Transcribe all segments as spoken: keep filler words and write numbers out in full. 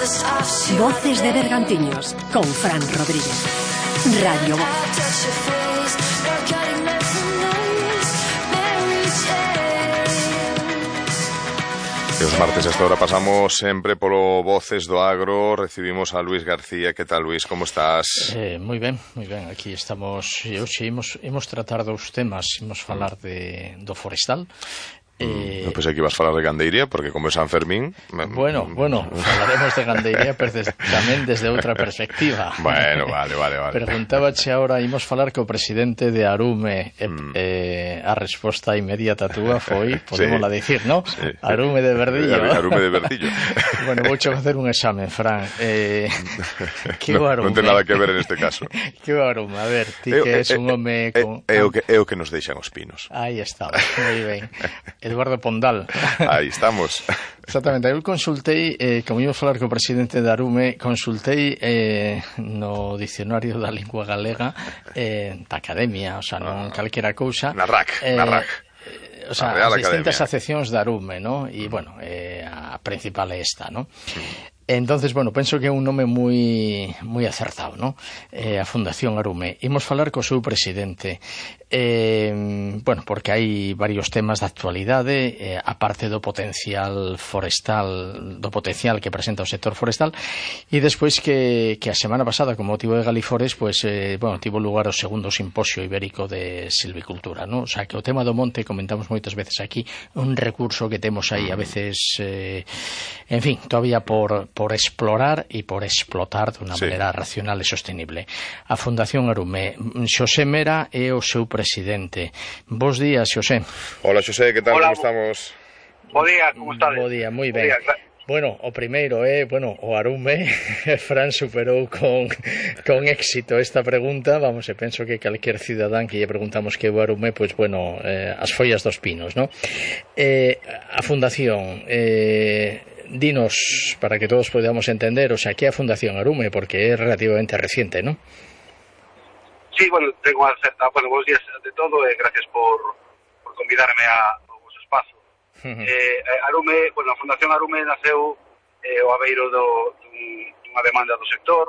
Voces de Bergantiños con Fran Rodríguez. Radio Voz. E os martes a esta hora pasamos sempre polo Voces do Agro. Recibimos a Luís García. Que tal, Luís? Como estás? Eh, moi ben, moi ben. Aquí estamos. E hoxe imos, imos tratar dous temas. Imos falar de, do forestal. Eh... Non pensei que ibas falar de gandeiría, porque como é San Fermín... Bueno, bueno, falaremos de gandeiría pero des, tamén desde outra perspectiva. Bueno, vale, vale, vale. Preguntábache agora, imos falar co presidente de Arume, e, mm. eh, a resposta inmediata túa foi, podemos sí. la dicir, ¿no? Sí. Arume de Verdillo. Arume de Verdillo. Bueno, vouche facer un examen, Fran. Eh, que no, Arume? Non ten nada que ver en este caso. Que Arume? A ver, ti que es un home con... É o que, é o que nos deixan os pinos. Aí está, moi ben. Eduardo Pondal. Aí estamos. Exactamente, eu consultei, eh, como íbamos falar co presidente de Arume, consultei eh, no dicionario da lingua galega eh, da academia, o sea, non calquera cousa. Na R A C, eh, na R A C. O sea, as distintas asociacións de Arume, ¿no? E, bueno, eh, a principal é esta, ¿no? Mm. Entonces, bueno, penso que é un nome moi moi acertado, ¿no? Eh, a Fundación Arume. Imos falar co seu presidente. Eh, bueno, porque hai varios temas de actualidade, eh, aparte do potencial forestal, do potencial que presenta o sector forestal, e despois que, que a semana pasada, con motivo de Galifores, pues, eh, bueno, tivo lugar o segundo simposio ibérico de silvicultura, ¿no? O sea, que o tema do monte, comentamos moitas veces aquí, un recurso que temos aí a veces, eh, en fin, todavía por por explorar e por explotar de unha sí. maneira racional e sostenible. A Fundación Arume, Xosé Mera é o seu presidente. Bos días, Xosé. Hola, Xosé, que tal? Hola. Como estamos? Bo día, como estades? Bo día, moi ben. Bueno, o primeiro é, eh, bueno, o Arume, Fran superou con, con éxito esta pregunta, vamos, e penso que calquer cidadán que lle preguntamos que é o Arume, pois, pues, bueno, eh, as follas dos pinos, ¿no? Eh, a Fundación, eh, dinos, para que todos podamos entender, o sea, que é a Fundación Arume, porque é relativamente reciente, ¿no? Sí, bueno, tengo a certa, bueno, bons días de todo, e eh, gracias por, por convidarme a, a vos espazo. Uh-huh. eh, Arume, bueno, a Fundación Arume naceu eh, o abeiro do, dun, dunha demanda do sector,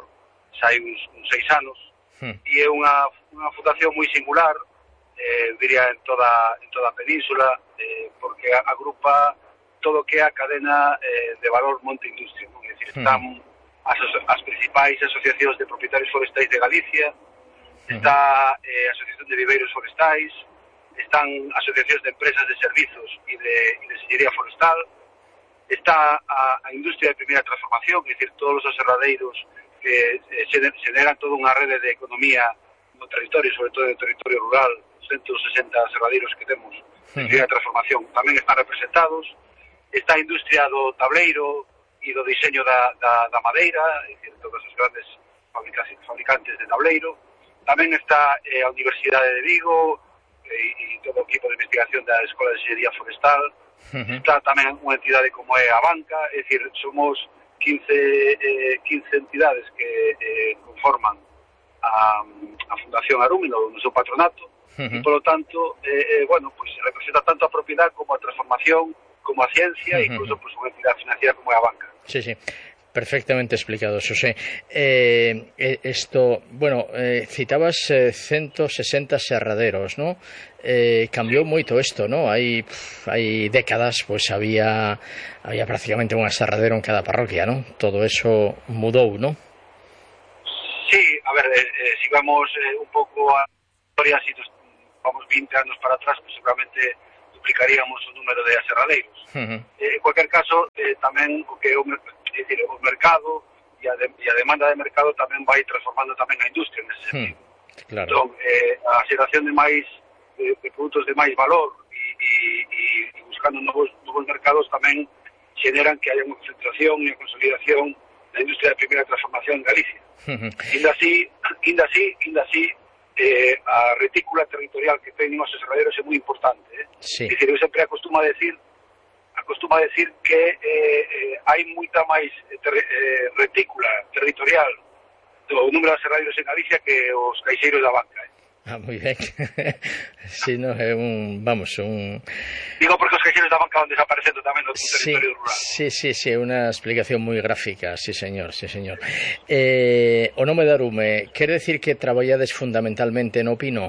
xa hai uns, uns seis anos, uh-huh. e é unha, unha fundación moi singular, eh, diría en toda, en toda a península, eh, porque agrupa todo o que é a cadena eh, de valor monte industria, non? É dicir, están as, as principais asociacións de propietarios forestais de Galicia, está eh, a Asociación de Viveiros Forestais, están asociacións de empresas de servizos e de, e de sellería forestal, está a, a industria de primeira transformación, é dicir, todos os aserradeiros que eh, generan toda unha rede de economía no territorio, sobre todo no territorio rural, ciento sesenta aserradeiros que temos de primeira transformación, tamén están representados. Está a industria do tableiro e do diseño da, da, da madeira, é dicir, todas as grandes fabricantes de tableiro. Tamén está eh, a Universidade de Vigo e, e todo o equipo de investigación da Escola de Enxeñería Forestal. Uh-huh. Está tamén unha entidade como é a banca, é dicir, somos quince, eh, quince entidades que eh, conforman a, a Fundación Arume no, no seu patronato. Uh-huh. E, polo tanto, eh, eh, bueno, pues, representa tanto a propiedade como a transformación, como a ciencia, e uh-huh. incluso pues, unha entidade financiera como é a banca. Sí, sí. Perfectamente explicado, Xosé. Eh, esto, bueno, eh, citabas eh, ciento sesenta serraderos, ¿no? Eh, cambiou moito isto, ¿no? Hai, hai décadas, pues había había prácticamente un serradero en cada parroquia, ¿no? Todo eso mudou, ¿no? Sí, a ver, eh, eh, si vamos eh, un pouco a historia, si nos vamos veinte anos para atrás, pues seguramente duplicaríamos o número de aserradeiros. Uh-huh. Eh, en cualquier caso, eh, tamén o que o, é dicir, o mercado e a, de, e a demanda de mercado tamén vai transformando tamén a industria nese sentido. Uh-huh. Claro. Entón, eh, a xeración de máis de, de produtos de máis valor e, e, e buscando novos, novos mercados tamén generan que haya unha concentración e a consolidación da industria de primeira transformación en Galicia. Uh-huh. Inda así, inda así, inda así, eh, a retícula territorial que teñen os aserraderos é moi importante. Eh? Sí. É dicir, eu sempre acostumo a decir, acostumo a decir que eh, eh, hai moita máis ter, eh, retícula territorial do número de aserraderos en Galicia que os caixeiros da banca. Eh? Ah, moi ben. Si, no, é un, vamos, un... Digo porque os caixeiros da banca van desaparecendo tamén no sí, territorio rural. Sí, sí, sí, unha explicación moi gráfica, sí, señor, sí, señor. Eh, o nome de Arume, quere decir que traballades fundamentalmente no pino?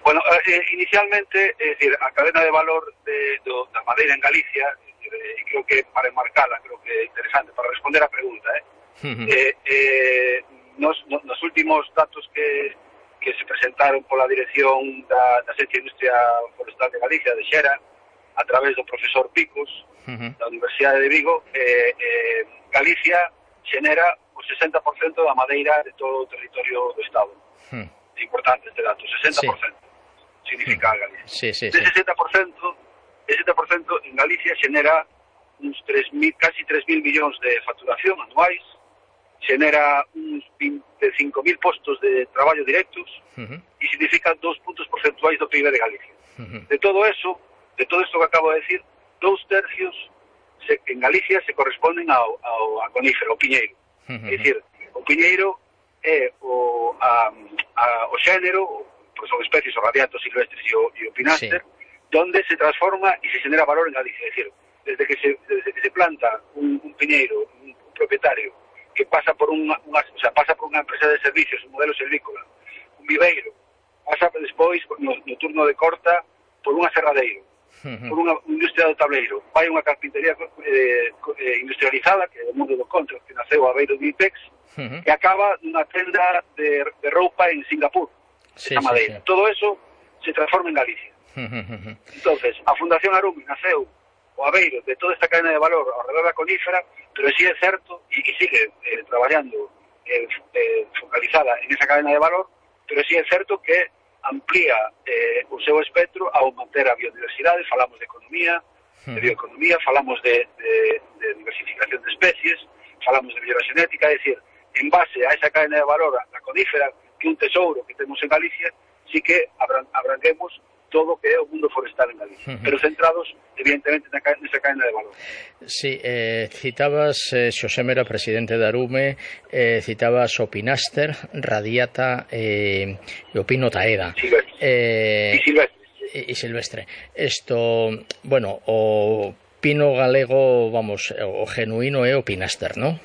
Bueno, eh, inicialmente, é dicir, a cadena de valor de, do, da madeira en Galicia, e creo que para enmarcala, creo que é interesante para responder a pregunta, eh? Uh-huh. eh, eh nos, nos últimos datos que que se presentaron pola dirección da, da Agencia de Industria Forestal de Galicia, de Xera, a través do profesor Picos, uh-huh. da Universidade de Vigo, eh, eh, Galicia xenera o sesenta por cento da madeira de todo o territorio do Estado. Uh-huh. É importante este dato, sesenta por cento sí. Significa uh-huh. Galicia. Sí, sí, de sí. sesenta por cento, sesenta por cento en Galicia xenera uns tres mil, casi tres mil millóns de facturación anuais, xenera uns veinticinco mil postos de traballo directos uh-huh. e significa dos puntos porcentuais do P I B de Galicia. Uh-huh. De todo eso, de todo isto que acabo de decir, dous tercios se, en Galicia se corresponden ao, ao a conífero, ao piñeiro. Uh-huh. É dicir, o piñeiro é o, a, a, o xénero, pues son especies, os radiatos silvestres e o, e o pinaster, sí. donde se transforma e se genera valor en Galicia. É dicir, desde que se, desde que se planta un, un piñeiro, un, un propietario, que pasa por unha, unha, o sea, pasa por unha empresa de servicios, un modelo silvícola, un viveiro, pasa despois no, no turno de corta por un aserradeiro, uh-huh. por unha industria do tableiro, vai unha carpintería eh, industrializada, que é o mundo do contra, que naceu a beiro de Ipex, uh-huh. que acaba nunha tenda de, de roupa en Singapur, sí, esa madeira. Sí, sí. Todo eso se transforma en Galicia. Uh-huh. Entonces, a Fundación Arume naceu o aveiro de toda esta cadena de valor ao redor da conífera, pero sí é certo, e, e sigue eh, traballando eh, eh, focalizada en esa cadena de valor, pero sí é certo que amplía eh, o seu espectro ao manter a biodiversidade, falamos de economía, de bioeconomía, falamos de, de, de diversificación de especies, falamos de mellora xenética, é dicir, en base a esa cadena de valor da conífera, que é un tesouro que temos en Galicia, sí que abranguemos todo o que é o mundo forestal en Galicia, uh-huh. pero centrados, evidentemente, nesa cadena de valor. Sí, eh, citabas eh, Xosé Mera, presidente da Arume, eh, citabas o pinaster, radiata eh, e o pino taeda. Silvestre. Eh, e silvestre. E, e silvestre. Esto, bueno, o pino galego, vamos, o genuíno é o pinaster, non?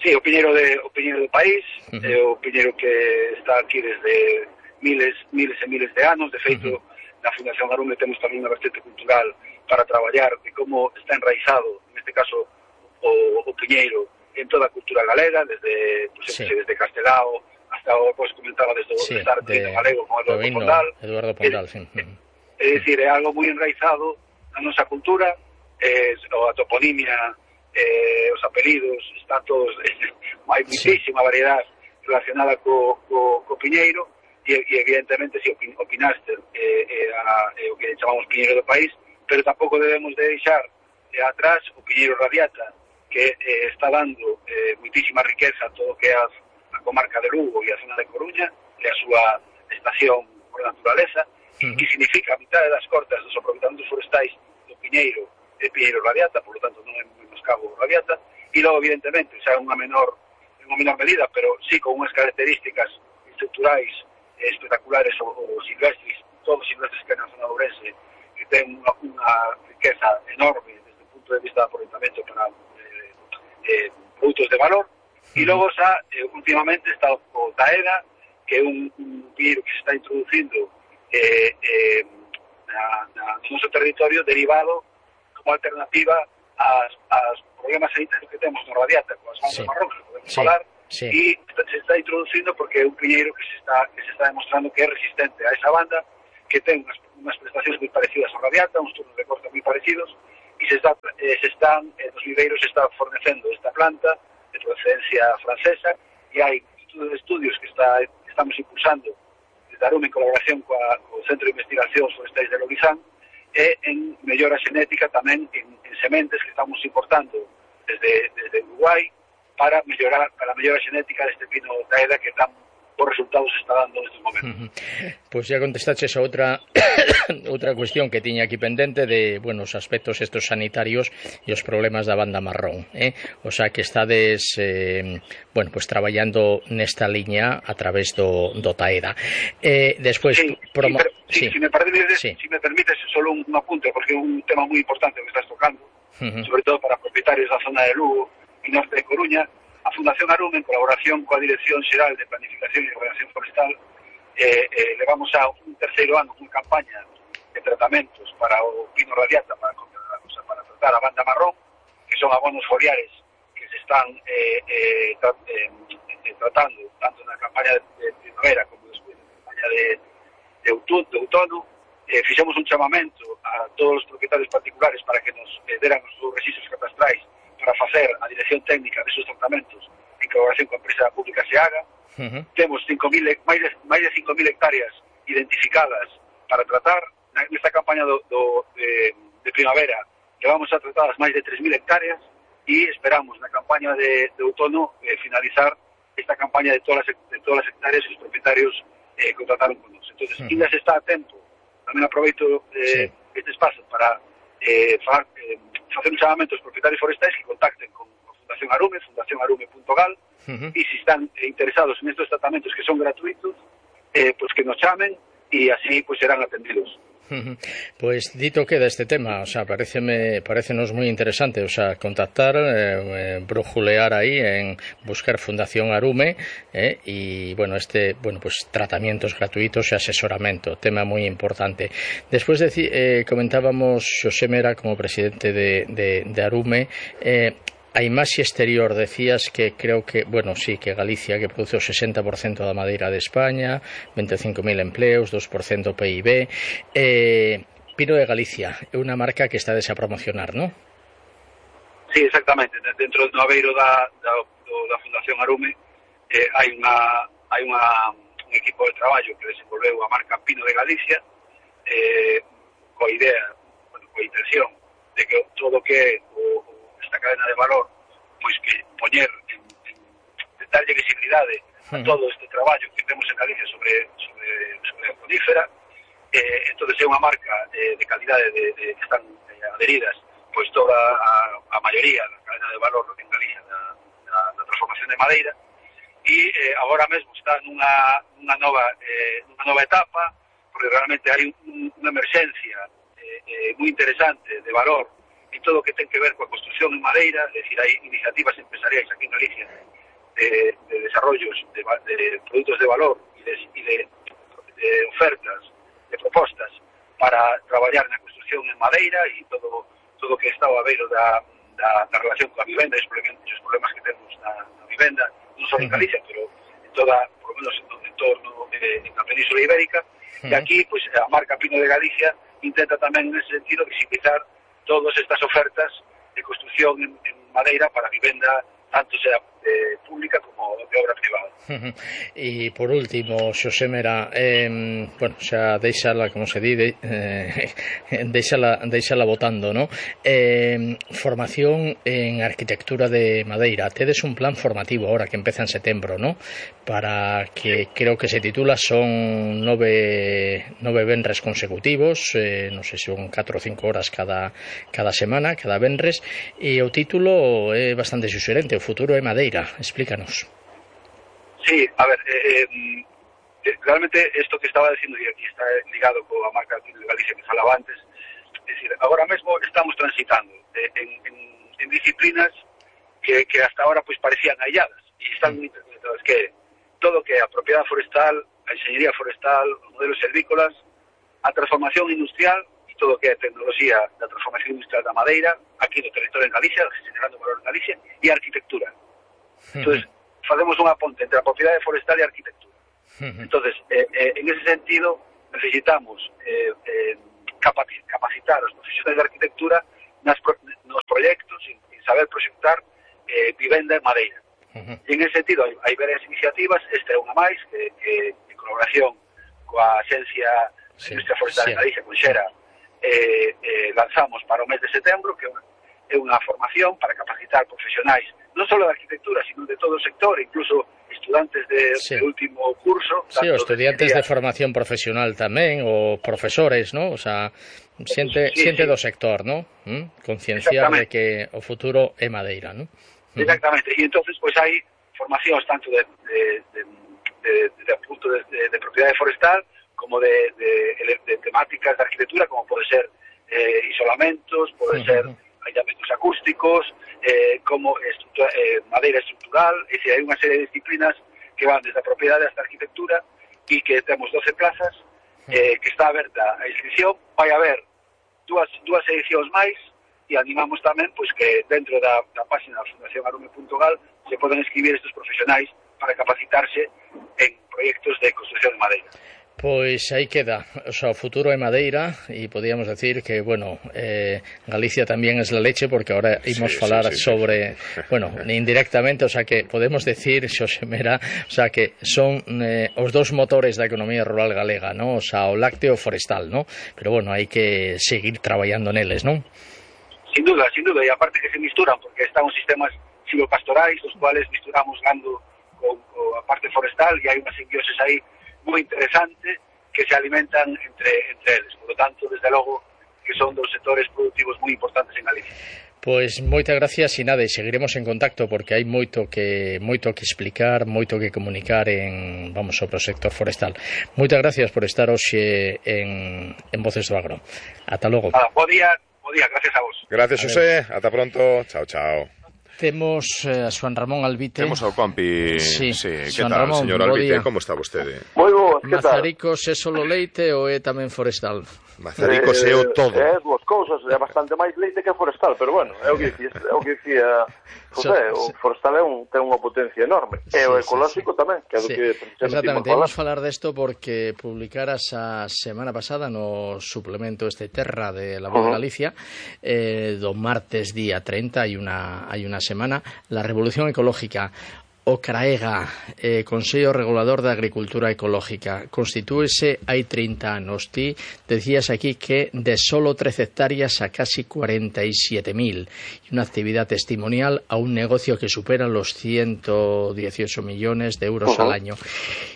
Sí, o piñeiro de, o piñeiro do país, uh-huh. é o piñeiro que está aquí desde miles, miles e miles de anos. De feito, uh-huh. na Fundación Arume temos tamén unha vertente cultural para traballar de como está enraizado, neste caso, o, o piñeiro en toda a cultura galega, desde, pues, sí. desde Castelao hasta o que comentaba desde sí, o estar de galego como Eduardo Vino, Pondal. Eduardo Pondal, sí. É, é dicir, é algo moi enraizado na nosa cultura, eh, a toponimia, eh, os apelidos, están todos, eh, hai muitísima sí. variedade relacionada co, co, co piñeiro, e, e evidentemente si sí, o pinaster é eh, eh, eh, o que chamamos piñeiro do país, pero tampouco debemos de deixar eh, atrás o piñeiro radiata, que eh, está dando eh, muitísima riqueza a todo o que é a, a comarca de Lugo e a zona de Coruña, e a súa estación por naturaleza, uh-huh. que significa a mitad das cortas dos aproveitamentos forestais do piñeiro e piñeiro radiata, por lo tanto non é menoscabo radiata, e logo evidentemente, xa unha menor, unha menor medida, pero sí con unhas características estructurais espectaculares o, o silvestres, todos silvestres que na zona de Ourense, que ten unha, unha riqueza enorme desde o punto de vista de aproveitamento para eh, eh, produtos de valor. E logo xa, eh, últimamente está o taeda, que é un, un piñeiro que se está introducindo eh, eh, na, na, no noso territorio, derivado como alternativa ás, ás problemas sanitarios que temos no radiata, con as bandas sí. marronas, podemos sí. falar, sí. e se está introducindo porque é un piñeiro que se está que se está demostrando que é resistente a esa banda, que ten unhas, unhas prestacións moi parecidas ao radiata, uns turnos de corte moi parecidos, e se, está, eh, se están, eh, nos viveiros se está fornecendo esta planta de procedencia francesa, e hai de estudios que, está, que estamos impulsando desde Arume en colaboración coa, co Centro de Investigacións Forestais de Lobizán, e en mellora xenética tamén en, en sementes que estamos importando desde, desde Uruguai, para mellorar para a mellora xenética deste pino taeda que tan mellor resultados está dando nestes momentos. Pois ya contestaches a outra outra cuestión que tiña aquí pendente de, bueno, os aspectos estos sanitarios e os problemas da banda marrón, eh? O sea, que estades eh, bueno, pues traballando nesta liña a través do, do TAEDA. Eh, despois sí, promo... sí, sí. Si, me permites, sí. si me permites solo un apunte, porque é un tema moi importante que estás tocando, uh-huh. sobre todo para propietarios da zona de Lugo e norte de Coruña. A Fundación Arume, en colaboración coa Dirección Xeral de Planificación e Ordenación Forestal, eh, eh, levamos a un terceiro ano unha campaña de tratamentos para o pino radiata, para, o sea, para tratar a banda marrón, que son abonos foliares que se están eh, eh, tra, eh, eh, tratando tanto na campaña de, de primavera como despois na campaña de, de, outono, de outono. Eh, fixemos un chamamento a todos os propietarios particulares para que nos eh, deran os seus registros catastrais para facer a dirección técnica desos tratamentos en colaboración coa empresa pública SEAGA. Uh-huh. Temos cinco mil, máis de, máis de cinco mil hectáreas identificadas para tratar. Nesta campaña do, do, de, de primavera levamos a tratadas máis de tres mil hectáreas e esperamos na campaña de, de outono eh, finalizar esta campaña de todas as, de todas as hectáreas que os propietarios eh, contrataron con nos. Entón, uh-huh. Quien se está atento, tamén aproveito eh, sí. este espazo para eh, fa, eh, facer un chamamento aos propietarios forestais que contacten con a Fundación Arume, fundación arume punto gal, uh-huh. e se están eh, interesados en estos tratamentos que son gratuitos, eh, pues que nos chamen e así pues serán atendidos. Uh-huh. Pois dito queda este tema, o sea, pareceme, parecenos moi interesante, o sea, contactar, eh, eh, brujulear aí en buscar Fundación Arume, eh, e, bueno, este, bueno, pues tratamientos gratuitos e asesoramento, tema moi importante. Despois de, eh, comentábamos Xosé Mera como presidente de, de, de Arume, eh, a imaxe exterior decías que creo que, bueno, sí, que Galicia que produce o sesenta por cento da madeira de España, veinticinco mil empleos, dos por cento P I B. Eh, Pino de Galicia é unha marca que está a promocionar, non? Sí, exactamente. Dentro do aveiro da, da, da Fundación Arume eh, hai unha hai unha, un equipo de traballo que desenvolveu a marca Pino de Galicia eh, coa idea, bueno, coa intención de que todo o que o esta cadena de valor, pois que poñer en, en, en darlle visibilidade a todo este traballo que temos en Galicia sobre sobre, sobre a conífera. Eh, entonces é unha marca eh, de calidade de, de, que están eh, adheridas pois toda a, a maioría da cadena de valor en Galicia da, da, da transformación de madeira e eh, agora mesmo está nunha, nunha nova eh, nunha nova etapa, porque realmente hai un, unha emerxencia eh, eh, moi interesante de valor e todo o que ten que ver coa construción en madeira, é dicir, hai iniciativas empresariais aquí en Galicia de, de desarrollos de, de produtos de valor e de, e de, de ofertas, de propostas para traballar na construción en madeira e todo todo o que está ao aveiro da, da, da relación coa vivenda e os problemas que temos na, na vivenda, non só en Galicia, pero en toda, por lo menos en todo o entorno eh, en a Península Ibérica. Uh-huh. E aquí, pues, a marca Pino de Galicia intenta tamén, en ese sentido, visibilizar todas estas ofertas de construción en, en madeira para vivenda, tanto sea eh, pública como de obra privada. Uh-huh. E por último, Xosé Mera, eh, bueno, xa deixala, como se di, de, eh, deixala, deixala votando, ¿no? Eh, formación en arquitectura de madeira. Tedes un plan formativo ahora que empeza en setembro, ¿no? Para que creo que se titula, son nove, nove venres consecutivos, eh, non sei se son catro ou cinco horas cada, cada semana, cada venres, e o título é bastante suxerente, o futuro é madeira. Explícanos. Sí, a ver, eh, eh, realmente esto que estaba diciendo, y aquí está ligado con la marca de Galicia que falaba antes, es decir, ahora mismo estamos transitando eh, en, en, en disciplinas que, que hasta ahora pues parecían aisladas y están muy interconectadas, que todo que a propiedad forestal, a ingeniería forestal, los modelos silvícolas, a transformación industrial y todo que a tecnología da transformación industrial da madeira, aquí no territorio en Galicia, generando valor en Galicia, e a arquitectura. Entonces, facemos unha ponte entre a propiedade forestal e a arquitectura. Entonces, eh, eh, en ese sentido, necesitamos eh, eh, capacitar os profesionais de arquitectura nas pro, nos proxectos, en, en saber proxectar eh, vivenda en madeira. Uh-huh. E en ese sentido, hai, hai varias iniciativas, esta é unha máis, que, que en colaboración coa Axencia sí, Industria Forestal sí. en Galicia, con Xera, eh, eh, lanzamos para o mes de setembro, que é unha formación para capacitar profesionais non só de arquitectura, sino de todo o sector, incluso estudantes de, sí. de último curso. Sí, o estudiantes de, de formación profesional tamén, o profesores, ¿no? O sea, xente, sí, xente sí. do sector, ¿no? ¿Mm? Concienciar de que o futuro é madeira, ¿no? Exactamente, e entonces pois hai formacións tanto de, de, de, de, de, de punto de, de, de propiedade forestal como de, de, de temáticas de arquitectura, como pode ser eh, isolamentos, pode uh-huh. ser aillamentos acústicos, eh, como estructura, eh, madeira estructural, é dicir, hai unha serie de disciplinas que van desde a propiedade hasta a arquitectura e que temos doce plazas, eh, que está aberta a inscripción. Vai haber dúas, dúas edicións máis e animamos tamén pois que dentro da, da página da Fundación Arume punto gal se poden escribir estes profesionais para capacitarse en proxectos de construcción de madeira. Pois aí queda, o sea, o futuro é madeira e podíamos decir que, bueno, eh, Galicia tamén é la leche porque ahora imos sí, falar sí, sí, sobre, sí. bueno, indirectamente, o sea que podemos decir, Xosé Mera, o sea que son eh, os dous motores da economía rural galega, ¿no? O sea, o lácteo forestal, ¿no? Pero bueno, hai que seguir traballando neles, ¿non? Sin duda, sin duda, e aparte que se misturan, porque están os sistemas silvopastorais, os cuales misturamos gando con, con a parte forestal, e hai unha simbioses aí moi interesante que se alimentan entre, entre eles. Por lo tanto, desde logo, que son dos sectores productivos moi importantes en Galicia. Pois moitas gracias e nada, e seguiremos en contacto porque hai moito que moito que explicar, moito que comunicar en, vamos, sobre o sector forestal. Moitas gracias por estar hoxe en, en Voces do Agro. Ata logo. Ah, bo día. Día, gracias a vos. Gracias, José. Ata pronto. Chao, chao. Temos eh, a Xuan Ramón Albite. Temos ao compi. Sí, sí. Que Xuan tal, Ramón, señor Albite? Como está vostede? Moi boas, que tal? Mazaricos é solo leite ou é tamén forestal? Mazaricos é o todo. É dúas cousas, é bastante máis leite que forestal, pero bueno, é o que dicía, é o que dicía José, o forestal é un, ten unha potencia enorme, e o ecolóxico tamén, que é o sí. que exactamente, vamos falar desto porque publicaras a semana pasada no suplemento este Terra de La Voz de Galicia, eh, do martes día treinta, hai unha, hai unha semana, la revolución ecológica. O CRAEGA, eh, Consello Regulador da Agricultura Ecológica, constitúese hai trinta anos. Ti decías aquí que de solo trece hectáreas a casi cuarenta y siete mil, y una actividad testimonial a un negocio que supera los ciento dieciocho millones de euros uh-huh. al año.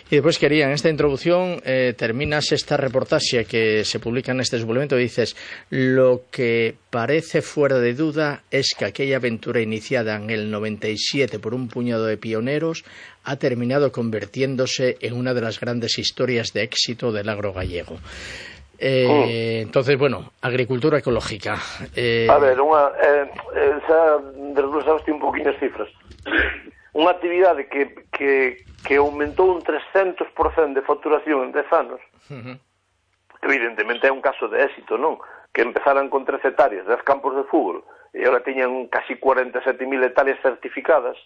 Y después quería, en esta introducción, eh, terminas esta reportaje que se publica en este suplemento y dices, lo que parece fuera de duda es que aquella aventura iniciada en el noventa y siete por un puñado de pioneros ha terminado convirtiéndose en una de las grandes historias de éxito del agro gallego. Eh, oh. Entonces, bueno, agricultura ecológica. Eh... A ver, unha, eh, eh, xa desglosaste un poquinho as cifras. Unha actividade que, que, que aumentou un trescentos por cento de facturación en dez anos, uh-huh. evidentemente é un caso de éxito, non? Que empezaran con trece hectáreas, dez campos de fútbol, e agora teñan casi cuarenta e sete mil hectáreas certificadas,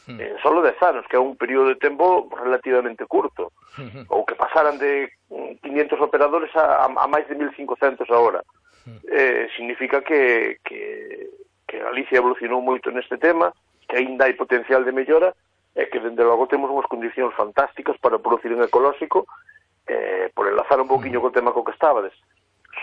uh-huh. en solo dez anos, que é un período de tempo relativamente curto, uh-huh. ou que pasaran de quinientos operadores a, a máis de mil cincocentos agora. Uh-huh. Eh, significa que, que, que Galicia evolucionou moito neste tema, que aínda hai potencial de mellora, e que, dende logo, temos unhas condicións fantásticas para producir en ecolóxico, eh, por enlazar un pouquiño co tema co que estabades.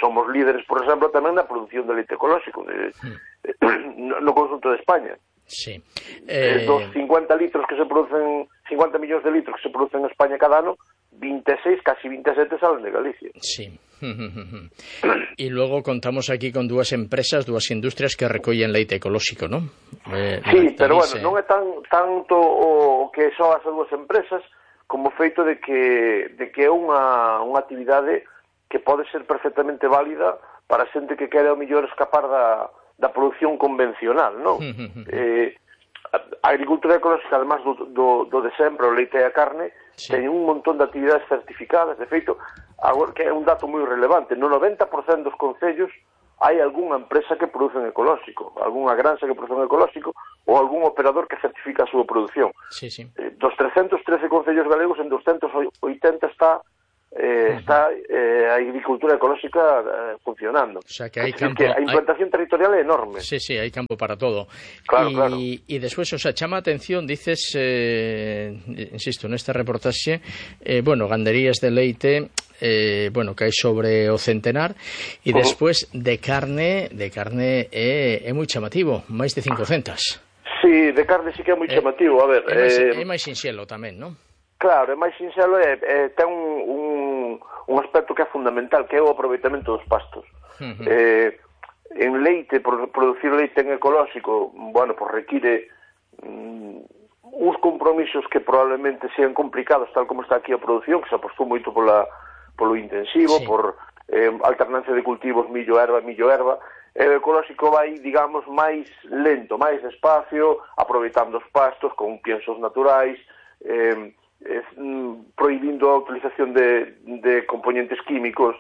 Somos líderes, por exemplo, tamén na produción de leite ecolóxico de, de, no, no conjunto de España. Sí. Eh... Dos cincuenta litros que se producen, cincuenta millóns de litros que se producen en España cada ano, veintiséis, casi veintisiete salen de Galicia. Sí. E logo contamos aquí con dúas empresas, dúas industrias que recollen leite ecolóxico, non? Eh, sí, pero bueno, non é tan tanto o que son as dúas empresas como o feito de que de que é unha unha actividade que pode ser perfectamente válida para a xente que quere ao mellor escapar da da produción convencional, non? eh, a agricultura ecolóxica, además do, do, do de sempre, o leite e a carne, sí. ten un montón de actividades certificadas. De feito, agora, que é un dato moi relevante, no noventa por cento dos concellos hai algunha empresa que produce en ecolóxico, algunha granxa que produce en ecolóxico ou algún operador que certifica a súa produción. Sí, sí. Eh, dos trescentos trece concellos galegos, en doscientos oitenta está Eh, uh-huh. está eh, a agricultura ecolóxica eh, funcionando. O sea que hai campo, que a implantación hay... territorial é enorme. Sí, sí, hai campo para todo. Claro, y, claro. Y después, o sea, chama atención, dices, eh, insisto, neste reportaxe, eh, bueno, ganderías de leite, eh, bueno, que hai sobre o centenar, e uh-huh. despois de carne, de carne é, é moi chamativo, máis de cincocentas. Sí, Sí, de carne sí que é moi chamativo, a ver... É máis, eh, é máis sinxelo tamén, non? Claro, é máis sinxelo e eh, ten un, un, un aspecto que é fundamental, que é o aproveitamento dos pastos. Uh-huh. Eh, en leite, por producir leite en ecolóxico, bueno, pues require mm, uns compromisos que probablemente sean complicados, tal como está aquí a produción, que se apostou moito pola, polo intensivo, sí. por eh, alternancia de cultivos millo-erva, millo-erva. O ecolóxico vai, digamos, máis lento, máis despacio, aproveitando os pastos con piensos naturais, eh, eh, prohibindo a utilización de, de componentes químicos.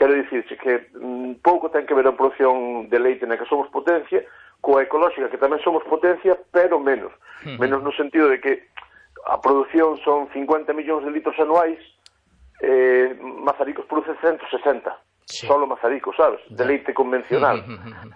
Quero dicirse que mm, pouco ten que ver a produción de leite na que somos potencia, coa ecolóxica que tamén somos potencia, pero menos. Uh-huh. Menos no sentido de que a produción son cincuenta millóns de litros anuais, eh, Mazaricos produce ciento sesenta. Sí. Solo Mazarico, sabes? De leite convencional.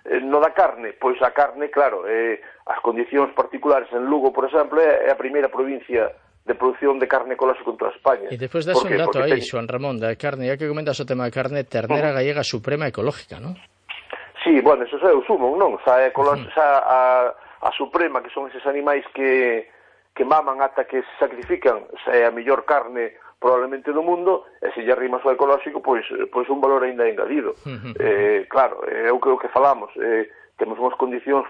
eh, no da carne, pois a carne, claro, eh, as condicións particulares en Lugo, por exemplo, é a primeira provincia de produción de carne ecolóxica en toda España. E despois das un dato aí, ten... Xoan Ramón, da carne, ya que comentas o tema da carne, ternera uh -huh. gallega suprema ecológica, non? Sí, bueno, eso é o sumo, non? Xa, ecolo... uh -huh. xa a, a suprema, que son eses animais que, que maman ata que se sacrifican, xa é a mellor carne probablemente do mundo, e se lle arrimas o ecolóxico, pois, pois un valor ainda engadido. Uh-huh. eh, claro, é o que, o que falamos, eh, temos unhas condicións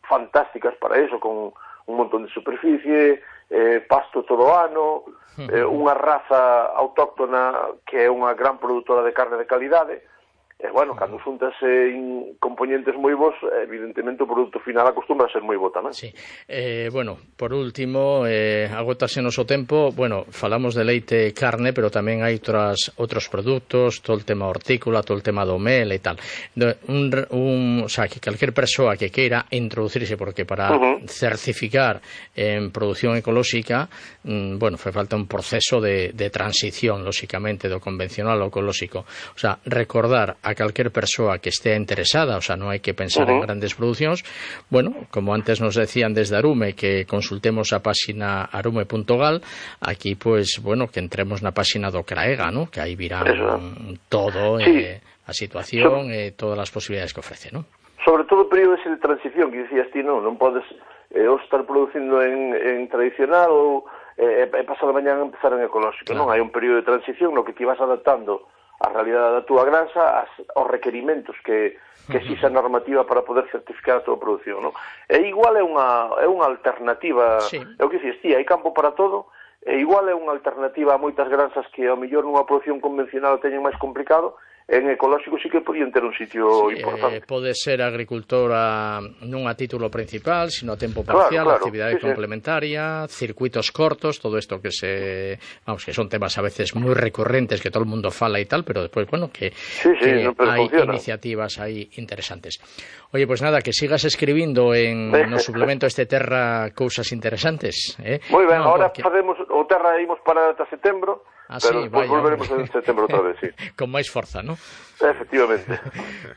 fantásticas para eso, con un montón de superficie, eh, pasto todo o ano, uh-huh. eh, unha raza autóctona que é unha gran produtora de carne de calidade, e, bueno, cando xuntas en componentes moi bons, evidentemente o produto final acostumbra a ser moi bo tamén. Sí. Eh, bueno, por último, eh, agotásenos o tempo, bueno, falamos de leite e carne, pero tamén hai outras, outros produtos, todo o tema hortícola, todo o tema do mel e tal. Un, un, o sea, que calquer persoa que queira introducirse, porque para uh-huh. certificar en produción ecolóxica, mm, bueno, fai falta un proceso de, de transición, lóxicamente, do convencional ao ecolóxico. O sea, recordar a calquer persoa que estea interesada, o sea, non hai que pensar uh-huh. en grandes producións, bueno, como antes nos decían desde Arume, que consultemos a páxina arume punto gal, aquí, pues, bueno, que entremos na páxina do CRAEGA, ¿no? Que aí virán Eso. todo, sí. eh, a situación e eh, todas as posibilidades que ofrece, ¿no? Sobre todo o período ese de transición, que dicías ti, non, non podes eh, ou estar producindo en, en tradicional ou eh, e pasado mañá empezar en ecolóxico, claro. Non? Hai un período de transición no que ti vas adaptando a realidade da túa granxa, as, aos requerimentos que, que exixa a normativa para poder certificar a túa produción, non? E igual é unha, é unha alternativa, sí. É o que dices, tí, hai campo para todo, e igual é unha alternativa a moitas granxas que ao mellor nunha produción convencional teñen máis complicado, en ecolóxico sí que podían ter un sitio sí, importante. Eh, pode ser agricultora non a título principal, sino a tempo parcial, claro, claro. actividade sí, complementaria, sí. circuitos cortos, todo isto que se, vamos, que son temas a veces moi recurrentes que todo o mundo fala e tal, pero despois, bueno, que, sí, sí, que no, hai funciona. Iniciativas aí interesantes. Oye, pues nada, que sigas escribindo en no suplemento este Terra cousas interesantes, eh? Moi ben, no, ahora porque... facemos o Terra imos para ata setembro. Ah, pero sí, despois vaya, volveremos en setembro outra vez, sí. Con máis forza, ¿no? Efectivamente.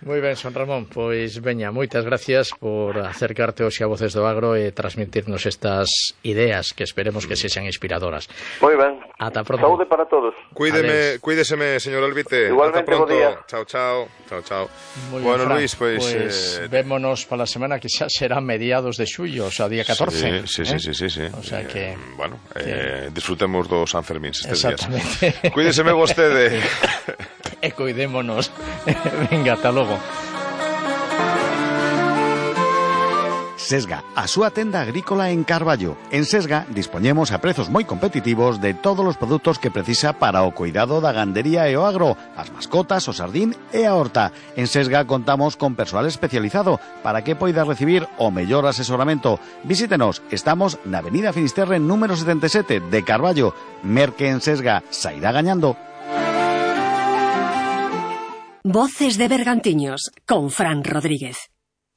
Moi ben, Son Ramón, pois veña, moitas gracias por acercarte hoxe a Voces do Agro e transmitirnos estas ideas que esperemos que sexan inspiradoras. Moi ben. Ata pronto. Saúde para todos. Cuídeme, cuídeseme, señor Elvite. Igualmente, ata pronto. Bo día. Chao, chao. Chao, chao. Muy bueno, bien, Fran, Luis, pois pues, pues eh... vémonos para a semana que xa será mediados de xullo, o sea, día catorce. Sí, sí, ¿eh? sí, sí, sí. O sea que eh, bueno, que... eh, disfrutemos dos Sanfermíns estes Exactamente. días. Cuídeseme vostede. E cuidémonos. Venga, ata logo. Sesga, a súa tenda agrícola en Carballo. En Sesga dispoñemos a prezos moi competitivos de todos os produtos que precisa para o cuidado da gandería e o agro, as mascotas, o sardín e a horta. En Sesga contamos con persoal especializado para que poida recibir o mellor asesoramento. Visítenos, estamos na Avenida Finisterre número setenta e sete de Carballo. Merque en Sesga, sairá gañando. Voces de Bergantiños, con Fran Rodríguez.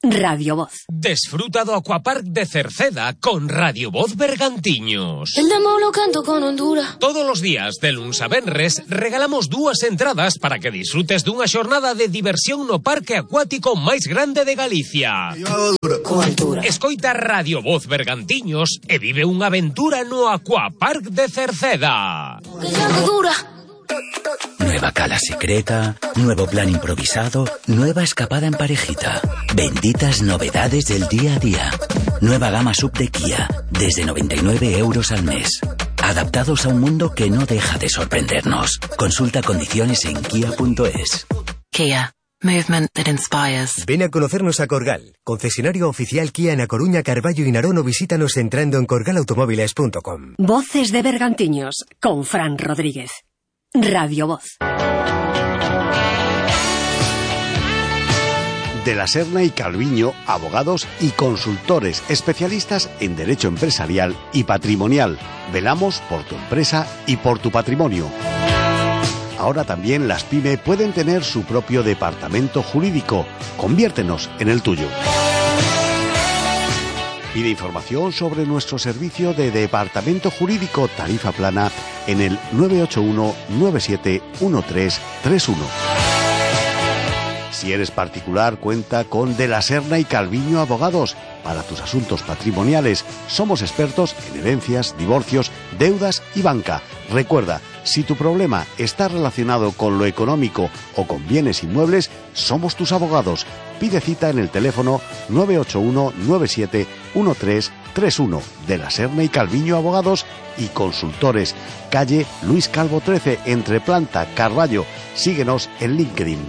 Radio Voz. Desfruta do Aquapark de Cerceda con Radio Voz Bergantiños. El demo lo canto con Honduras. Todos os días, de luns a venres, regalamos dúas entradas para que disfrutes dunha xornada de diversión no parque acuático máis grande de Galicia. Con altura. Escoita Radio Voz Bergantiños e vive unha aventura no Aquapark de Cerceda. Que ya dura. Nueva cala secreta, nuevo plan improvisado, nueva escapada en parejita. Benditas novedades del día a día. Nueva gama sub de Kia, desde noventa y nueve euros al mes. Adaptados a un mundo que no deja de sorprendernos. Consulta condiciones en kia punto es. Kia. Movement that inspires. Ven a conocernos a Corgal, concesionario oficial Kia en A Coruña, Carballo y Narón, o visítanos entrando en corgal automóviles punto com. Voces de Bergantiños con Fran Rodríguez. Radio Voz. De la Serna y Calviño, abogados y consultores especialistas en derecho empresarial y patrimonial. Velamos por tu empresa y por tu patrimonio. Ahora también las pyme pueden tener su propio departamento jurídico. Conviértenos en el tuyo. Pide información sobre nuestro servicio de departamento jurídico tarifa plana en el nueve ocho uno nueve siete uno tres tres uno. Si eres particular, cuenta con De la Serna y Calviño Abogados. Para tus asuntos patrimoniales, somos expertos en herencias, divorcios, deudas y banca. Recuerda, si tu problema está relacionado con lo económico o con bienes inmuebles, somos tus abogados. Pide cita en el teléfono nueve ocho uno nueve siete uno tres tres uno. De la Serna y Calviño Abogados y Consultores. Calle Luis Calvo trece, entre Planta, Carballo. Síguenos en LinkedIn.